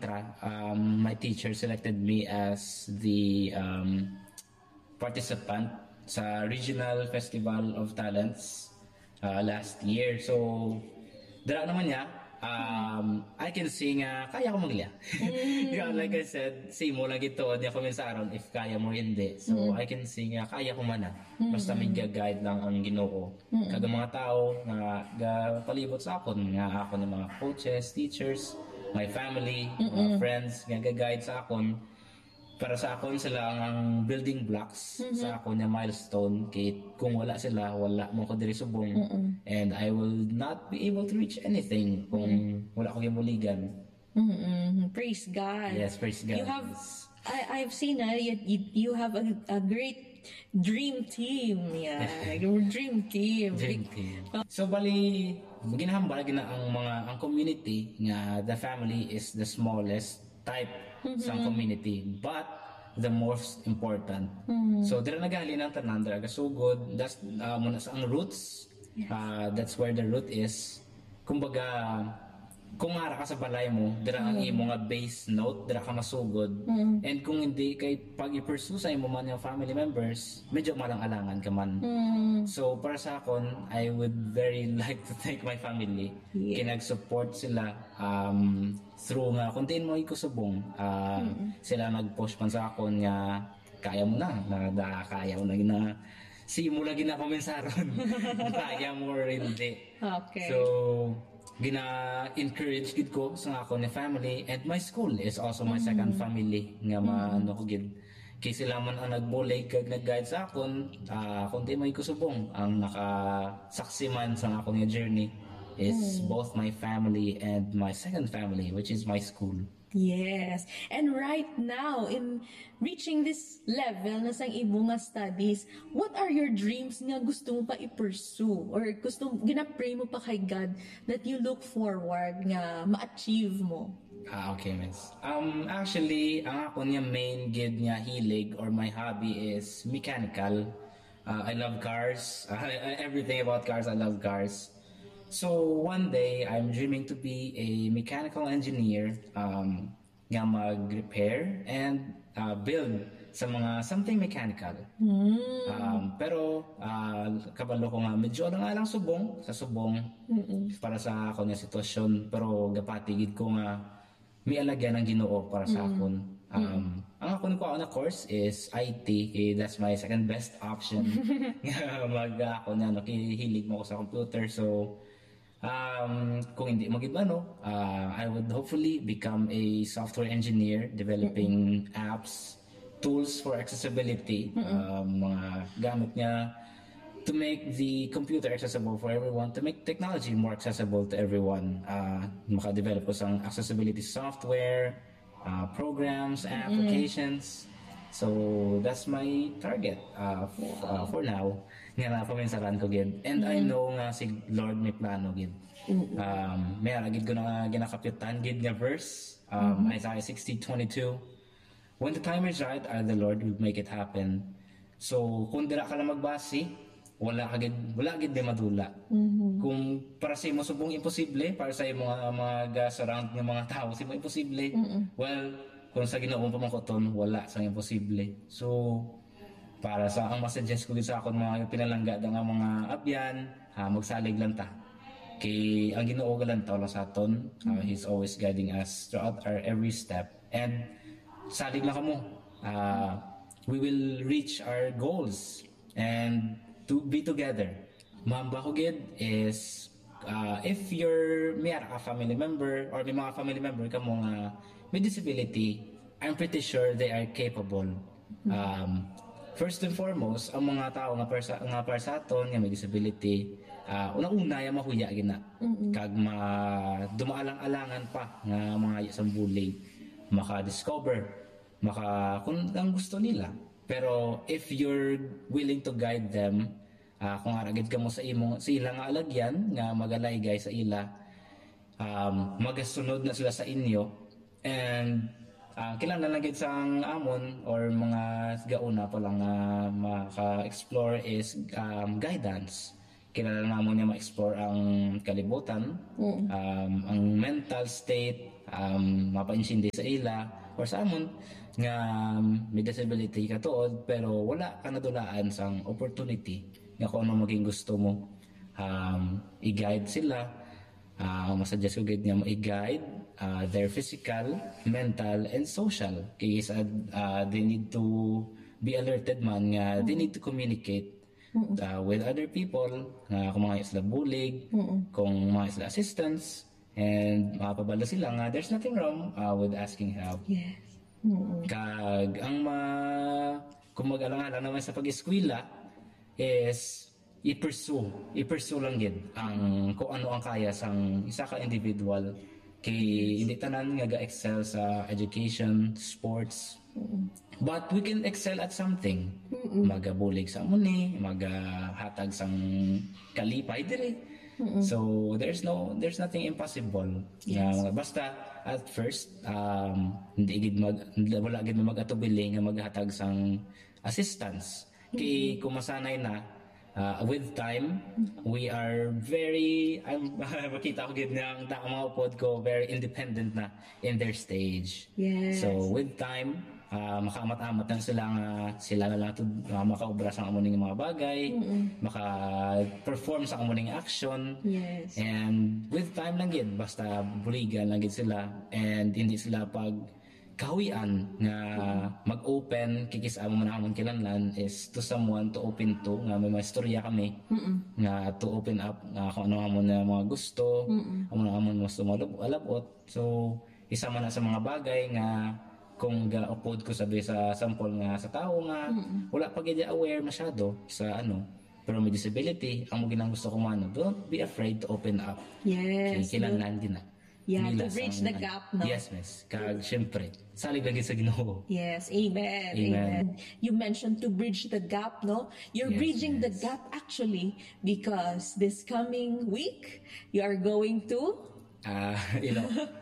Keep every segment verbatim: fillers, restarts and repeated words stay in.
Tra, um, my teacher selected me as the um, participant sa Regional Festival of Talents uh, last year. So, dira naman niya, um, I can say nga kaya ko maglia. Yeah, like I said, same mo lang ito niya kuminsaron if kaya mo or hindi. So, I can say nga kaya ko man na. Basta may ga-guide lang ang Ginoo. Kag ang mga tao nga gapalibot sa akon, nga akon nga mga coaches, teachers, my family, mga friends nga ga-guide sa akon, para sa akon sila ang, ang building blocks sa akon nga milestone. Kay kung wala sila, wala mo ko diri subong. And I will not be able to reach anything kung wala ko gibuligan. Mm-mm. Praise God. Yes, praise God. You have, I, I've seen, uh, you, you, you have a, a great dream team. Yeah, your dream team. Dream team. So, bali, ginahambal gina ang mga, ang community nga the family is the smallest type sa community, but the most important. So, dira nagahalin ang tanan, dira gasugod, that's uh, muna sa ang roots. Uh, that's where the root is. Kumbaga, kung ara ka sa balay mo, dira ang imo nga base note, dira ka masugod. And kung hindi kay pag i-pursue sa imo man yung family members, medyo malang-alangan ka man. So, para sa akon, I would very like to thank my family. Yes. Kinag-support sila um, through nga, kung diin mo ikusubong, uh, sila nag-push man sa akon nga, kaya mo na, na, na kaya mo na, na si mo lagi na kuminsaron. Kaya mo or hindi. Okay. So, gina-encourage gid ko sa akon nga family, and my school is also my second family nga maano ko gid. Kay sila man ang nagbulig kag nag-guide sa akon, ah, kung di may kusubong, ang nakasaksi man sa akon nga journey is both my family and my second family, which is my school. Yes. And right now, in reaching this level na sang imo nga studies, what are your dreams nga gusto mo pa i-pursue? Or gusto, ginapray mo pa kay God that you look forward nga ma-achieve mo? Ah, okay, miss. Um, actually, ang ako niya main gid nga hilig or my hobby is mechanical. Uh, I love cars. I, I- everything about cars, I love cars. So one day, I'm dreaming to be a mechanical engineer um, nga mag-repair and uh, build sa mga something mechanical. Um, pero uh, kabalo ko nga medyo lang alang subong sa subong para sa ako nga sitwasyon. Pero gapatigid ko nga may alagyan ang Ginoo para sa akon. Um, ang akon ko na course is I T. Eh, that's my second best option. Nga mag ako na nakihilig mo ko sa computer. So um, kung hindi mo gid ano, uh, I would hopefully become a software engineer developing apps, tools for accessibility, um, mga gamit nga to make the computer accessible for everyone, to make technology more accessible to everyone. Uh, maka-develop ko sang accessibility software, uh, programs, applications. So that's my target uh, f- uh, for now. Nga na paminsaran ko gid. And I know nga si Lord may plano gid. Um, may ara gid ko na ginakapyutan gid nga verse. Um, Isaiah sixty twenty-two. When the time is right, I, the Lord, will make it happen. So, kung dira ka lang magbasi, wala ka gid, wala gid di madula. Kung para sa imo subong imposible, para sa imo nga mga ga-surround nga mga tao sa imo imposible. Well, kung sa Ginoo mo pamangkoton, wala sa imposible. So, para sa ang masuggest ko gid sa akon mga pinalangga nga mga abyan, ha, magsalig lang ta. Kay ang Ginoo galantaw lang sa aton. Uh, he's always guiding us throughout our every step. And salig lang kamo. Uh, we will reach our goals and to be together. Mamba ko gid is uh, if your may ara ka family member or may mga family member ka mo nga may disability, I'm pretty sure they are capable. Um, first and foremost, ang mga tao nga para sa, nga para sa aton nga may disability, uh, una-una yung mahuya gina. Kag ma dumaalang-alangan pa nga mga sa bullying, maka-discover, maka kung ang gusto nila. Pero if you're willing to guide them, uh, kung ara gid kamo sa imo sa ila nga alagyan nga magalaygay sa ila, um, magasunod na sila sa inyo. And uh, kailangan lang gid sang amon or mga gauna pa lang nga maka-explore is um, guidance. Kailangan namon nga ma-explore ang kalibutan, um, ang mental state, um, mapaintindi sa ila or sa amon nga, um, may disability ka tuod, pero wala ka nadulaan sang opportunity nga kung ano maging gusto mo, um, i-guide sila. Ah, ang masuggest ko gid nga mo i-guide, ah, their physical, mental, and social. Kay sa, ah, they need to be alerted man nga they need to communicate, ah, with other people, nga kung mga sila bulig, kung mga sila assistance, and makapabalo sila nga there's nothing wrong, ah, with asking help. Yes. Mm-mm. Kag ang ma kung mag-alang-alang naman sa pag-eskwela is i-pursue, i-pursue lang gid ang kung ano ang kaya sang isa ka individual. Kay hindi tanan nga ga-excel sa education, sports. But we can excel at something. Magabulig sa amo ni, magahatag sang kalipay diri. So there's no there's nothing impossible. Nga Yes. mga- basta at first, um, hindi gid mag wala gid mag-atubili nga maghatag sang assistance. Kay kung masanay na, uh, with time, we are very, I'm, makita ko gid nga ang ta- mga upod ko very independent na in their stage. Yes. So with time, uh, makaamat-amat na sila nga sila na lang to uh, makaobra sa amo ning mga bagay, maka-perform sa amo ning action. Yes. And with time lang gid, basta buligan lang gid sila and hindi sila pag kahuyan nga mag-open kikis amo man amon kinahanglan is to someone to open to nga may mga istorya kami nga to open up nga kung ano amon na mga gusto amo na amon gusto malab- alabot. So isa man na sa mga bagay nga kung ga-upod ko sabi sa sample nga sa tao nga wala pa gid aware masyado sa ano pero may disability ang mo ginang gusto ko man don't be afraid to open up. Yes. Kay kinahanglan gid na. Yeah, to Nila bridge sa the mga- gap, no? Yes, miss. Kag syempre, salig lagi sa Ginoo. Yes, amen, Amen. amen. You mentioned to bridge the gap, no? You're Yes, bridging the yes. gap actually because this coming week you are going to Ah, Ilo-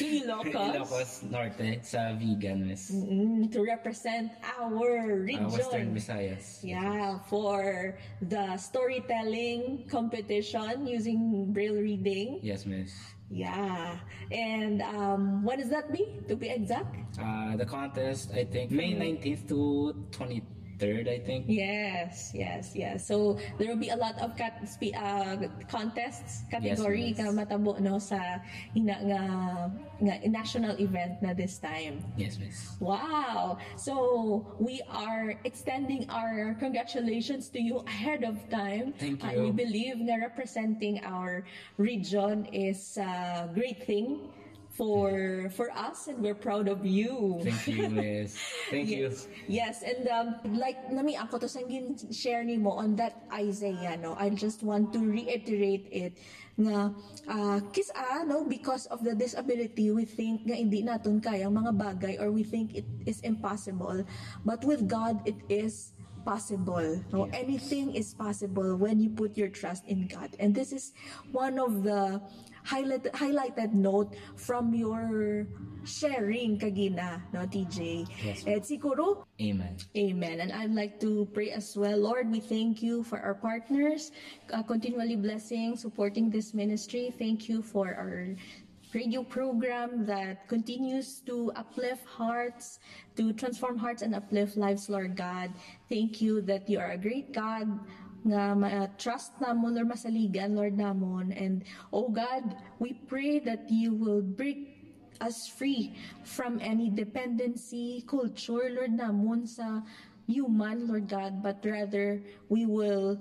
to Ilocos, Ilocos Norte sa Vigan, miss. Mm, to represent our Ah, region. Western Visayas. Yeah, for the storytelling competition using braille reading. Yes, miss. Yeah. And um, when does that be, to be exact? Uh, the contest, I think, May nineteenth to twenty-third, I think. Yes, yes, yes. So there will be a lot of cat- spe- uh, contests category Yes, yes. Nga matabo no sa ina nga, nga national event na this time. Yes, miss. Wow! So we are extending our congratulations to you ahead of time. Thank Uh, you. we believe nga representing our region is a great thing for for us, and we're proud of you. Thank you, miss. Thank you. Yes. Yes, and um, like nami ako to sang gin share nimo on that Isaiah, no. I just want to reiterate it nga uh, kis-a, no, because of the disability, we think nga hindi naton kaya ang mga bagay or we think it is impossible. But with God, it is possible. No? Yes. Anything is possible when you put your trust in God. And this is one of the highlight, highlighted note from your sharing kagina, no, T J. Yes. And siguro, Amen. Amen. And I'd like to pray as well. Lord, we thank you for our partners, uh, continually blessing, supporting this ministry. Thank you for our radio program that continues to uplift hearts, to transform hearts and uplift lives, Lord God. Thank you that you are a great God nga ma-trust namon, Lord, masaligan, Lord, namon. And, oh God, we pray that you will break us free from any dependency culture, Lord, namon sa human, Lord God, but rather we will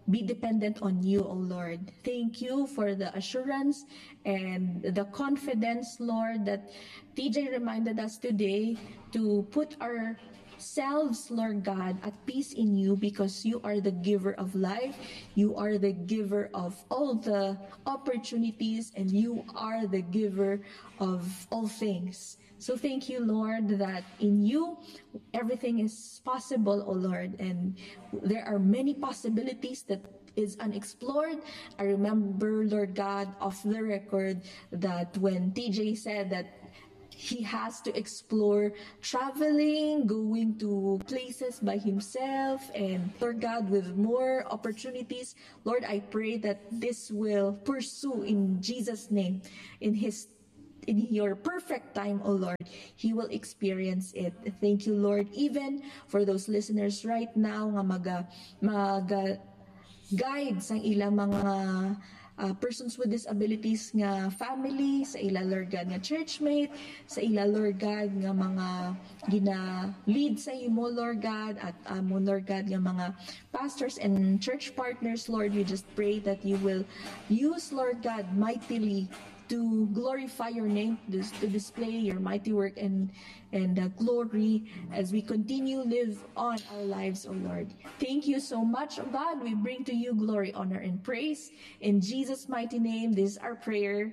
be dependent on you, O Lord. Thank you for the assurance and the confidence, Lord, that T J reminded us today to put ourselves, Lord God, at peace in you because you are the giver of life. You are the giver of all the opportunities, and you are the giver of all things. So thank you, Lord, that in you everything is possible, O Lord, and there are many possibilities that is unexplored. I remember, Lord God, off the record, that when T J said that he has to explore traveling, going to places by himself, and, Lord God, with more opportunities. Lord, I pray that this will pursue in Jesus' name, in his in your perfect time, O Lord, he will experience it. Thank you, Lord, even for those listeners right now nga maga, maga guide sang ila mga uh, persons with disabilities nga family, sa ila, Lord God, nga churchmate, sa ila, Lord God, nga mga gina-lead sa imo, Lord God, at amo, Lord God, nga mga pastors and church partners, Lord, we just pray that you will use, Lord God, mightily to glorify your name, to, to display your mighty work and and uh, glory as we continue live on our lives, O Lord. Thank you so much, O God. We bring to you glory, honor, and praise. In Jesus' mighty name, this is our prayer.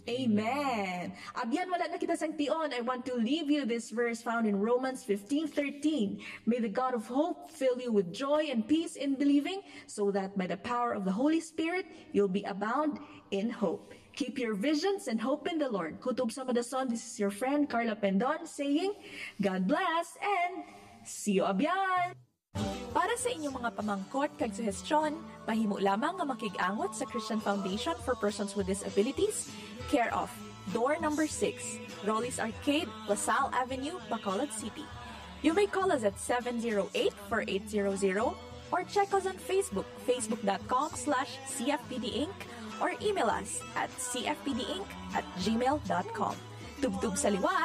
Amen. Abyan, wala na kita sang tion. I want to leave you this verse found in Romans fifteen thirteen. May the God of hope fill you with joy and peace in believing, so that by the power of the Holy Spirit, you'll be abound in hope. Keep your visions and hope in the Lord. Kutob sa Madason, this is your friend Carla Pendon saying, God bless and see you abyan! Para sa inyong mga pamangkot kag suhestyon, mahimo lamang nga makig-angot sa Christian Foundation for Persons with Disabilities, care of Door number six, Rolly's Arcade, La Salle Avenue, Bacolod City. You may call us at seven zero eight, four eight zero zero or check us on Facebook, facebook dot com slash C F P D Inc, or email us at C F P D Inc at gmail dot com. Tubtob sa liwat!